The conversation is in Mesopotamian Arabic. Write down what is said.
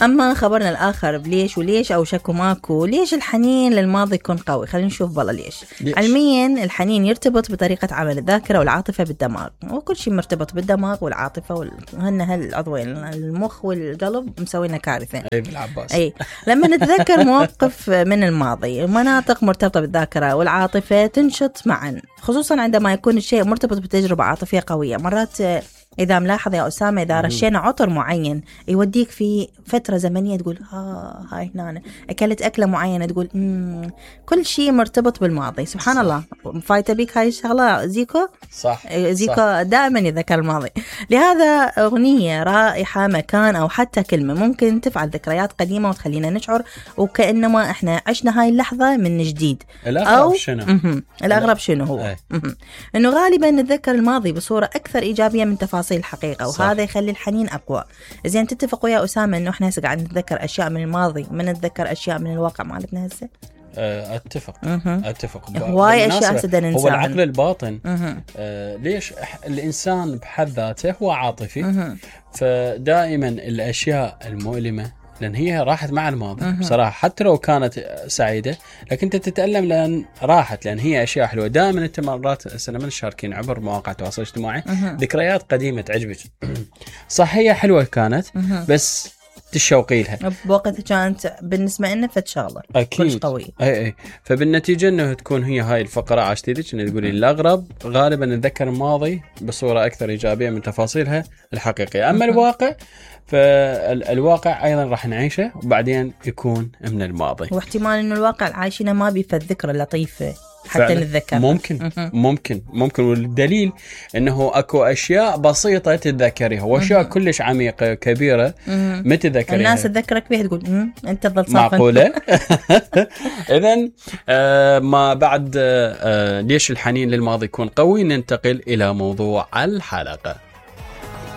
أما خبرنا الآخر بليش وليش أو شكو ماكو، ليش الحنين للماضي يكون قوي؟ خلينا نشوف بالله ليش. علميا الحنين يرتبط بطريقة عمل الذاكرة والعاطفة بالدماغ، وكل شيء مرتبط بالدماغ والعاطفة هالعضوين المخ والقلب مسوينا كارثة. أي بالعباس. أي لما نتذكر مواقف من الماضي، مناطق مرتبطة بالذاكرة والعاطفة تنشط معا، خصوصا عندما يكون الشيء مرتبط بتجربة عاطفية قوية. مرات إذا ملاحظ يا أسامة، إذا رشينا عطر معين يوديك في فترة زمنية تقول هاي هنا أكلت أكلة معينة تقول كل شيء مرتبط بالماضي. سبحان الله، فايتة بيك هاي الشغلة زيكو. صح. زيكو صح. دائما يذكر الماضي. لهذا أغنية، رائحة، مكان أو حتى كلمة ممكن تفعل ذكريات قديمة وتخلينا نشعر وكأنما إحنا عشنا هاي اللحظة من جديد. الأغرب شنو؟ الأغرب شنو هو؟ إنه غالبا نتذكر الماضي بصورة أكثر إيجابية من تفاصيل الحقيقة، وهذا يخلي الحنين أقوى. زين تتفقوا يا أسامة إنه إحنا قاعد نتذكر أشياء من الماضي ما نتذكر أشياء من الواقع مالتنا هسه؟ أتفق. هواي أشياء سدنا ننساها. هو العقل الباطن. ليش الإنسان بحد ذاته هو عاطفي، فدائما الأشياء المؤلمة لأن هي راحت مع الماضي بصراحة، حتى لو كانت سعيدة لكن أنت تتألم لأن راحت، لأن هي أشياء حلوة. دائما أنت مرات سلمان شاركين عبر مواقع التواصل الاجتماعي ذكريات قديمة تعجبك، صح هي حلوة كانت بس تشوقي لها بوقتها كانت بالنسبة لنا فتشغلة أكيد قوي. أي فبالنتيجة أنه تكون هي هاي الفقرة عاشتيدك أنه تقولي الأغرب غالبا نتذكر الماضي بصورة أكثر إيجابية من تفاصيلها الحقيقية. أما الواقع فالواقع أيضا راح نعيشه وبعدين يكون من الماضي، واحتمال أنه الواقع العايشين ما بيفذ ذكرى لطيفة حتى نتذكر. ممكن والدليل انه اكو اشياء بسيطه تتذكريها واشياء كلش عميقه كبيره ما تتذكريها. الناس تذكرك بيها تقول انت تظل صافن. معقوله. اذن ما بعد ليش الحنين للماضي يكون قوي، ننتقل الى موضوع الحلقه.